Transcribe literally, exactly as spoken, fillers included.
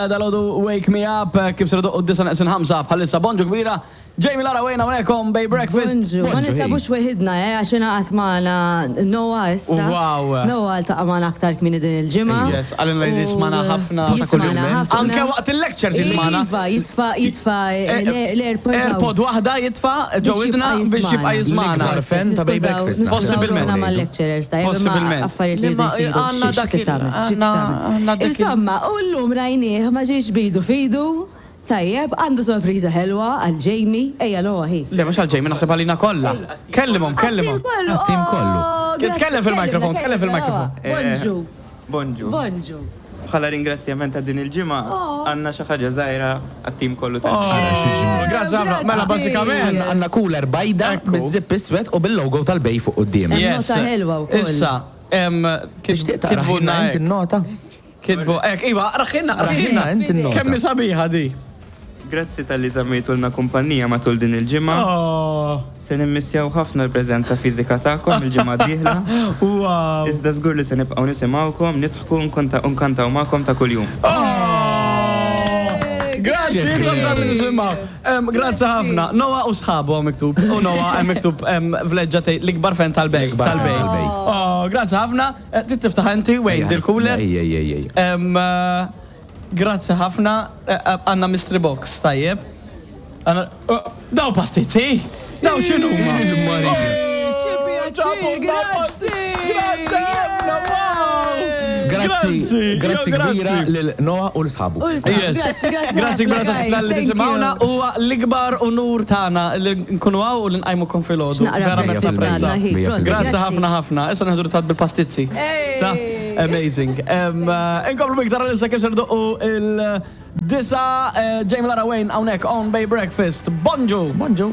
Dalgħodu Wake Me Up, kif ser idoqqu d-disgħa neqsin ħamsa bħalissa. Bonġu kbira. Jamie, Lara, Wayne hawnhekk on Bay Breakfast. Bonġu, ma Bonġu, nisabux weħidna, eh, għax ingħaqad magħna Noah issa. Wow. Noah ltaqa' magħna aktar kmieni din il-ġimgħa. Yes, għalina li jismana ħafna. Jismana ħafna. Anke waqt il-lectures jismana. Iva, jitfa, jitfa l-AirPod. AirPod waħda jitfa ġo Biex widna jibqa' biex jibqa' jismana. jismana. L-ikbar fan ta' Bay Breakfast. Possibilment. Possibilment. Mal-lecturers ta' Possibilment. Affarijiet li Imma jridu jsiru. għandna Xi- dak xi il- tagħmel, xi għandna- tagħmel. għandna dak il- Insomma, u llum rajnieh ma ġiex bidu fidu. Tajjeb, għandu sorpriża ħelwa għal Jamie. Ejja, Noah, hi. Le, mhux għal Jamie, naħseb għalina kollha. Kellimhom, kellimhom. Għat-tim kollu. Oh, Tkellem fil-mikrofon, tkellem fil-mikrofon. Bonġu, Bonġu. bonġu. Bħala ringrazzjament ta' din il-ġimgħa Oh. għandna xi ħaġa żgħira għat-tim kollu ta' Oh, Grazzi ħafna. Mela, bażikament. Għandna cooler bajda Ekku. biż-zip iswed u bil-logo tal-Bay fuq quddiem. Yes. Nota ħelwa wkoll. Issa, em, Tixtieq taqra kitbulna ħinna inti hekk. n-nota? Kitbu, hekk, iva, raħinna, Raħinna raħinna. inti n-nota. Kemm hi sabiħa di. Grazzi talli żammejtulna kumpanija matul din il-ġimgħa. Oh, Se nimmissjaw ħafna l-preżenza fiżika tagħkom il-ġimgħa d-dieħla. wow. Iżda żgur li se nibqgħu nisimgħukom, nidħku nkonta- u nkantaw magħkom ta' kuljum. Oh! Grazzi, intom tal nisimgħu. Em, Grazzi ħafna. Noah u sħabu hawn miktub. U Noah hemm miktub em, vleġġa tgħid l-ikbar fan tal-Bay. L-ikbar fan Tal-Bay. tal-Bay. Oh, grazzi ħafna. Eh, Trid tiftaħ inti, Wayne, dil-cooler. Ej, ej, ej, ej. Em, eh, Grazzi ħafna. Eh, eh, Għandna mystery box, tajjeb. Għandna- oh, Daw pastizzi? Daw x'inhuma? Xi grazzi! Grazzi ħafna, wow! Grazzi, grazzi jo, kbira lil Noah u l-sħabu. Yes. Grazzi, grazzi. Grazzi ħafna, kbira guys, tal-li thank tisimgħuna you. huwa l-ikbar unur tagħna li nkunu hawn u li nqajmukom filgħodu. X'naqra Verament breakfast napprezza. għandna, hi, Mija prosit, Grazzi ħafna ħafna. Issa nieħdu ritratt bil-pastizzi. Ta' amazing. Em, eh, Inkomplu biktar issa kif ser idoqqu il-disgħa, eh, Jamie, Lara, Wayne hawnhekk on Bay Breakfast. Bonġu! Bonġu.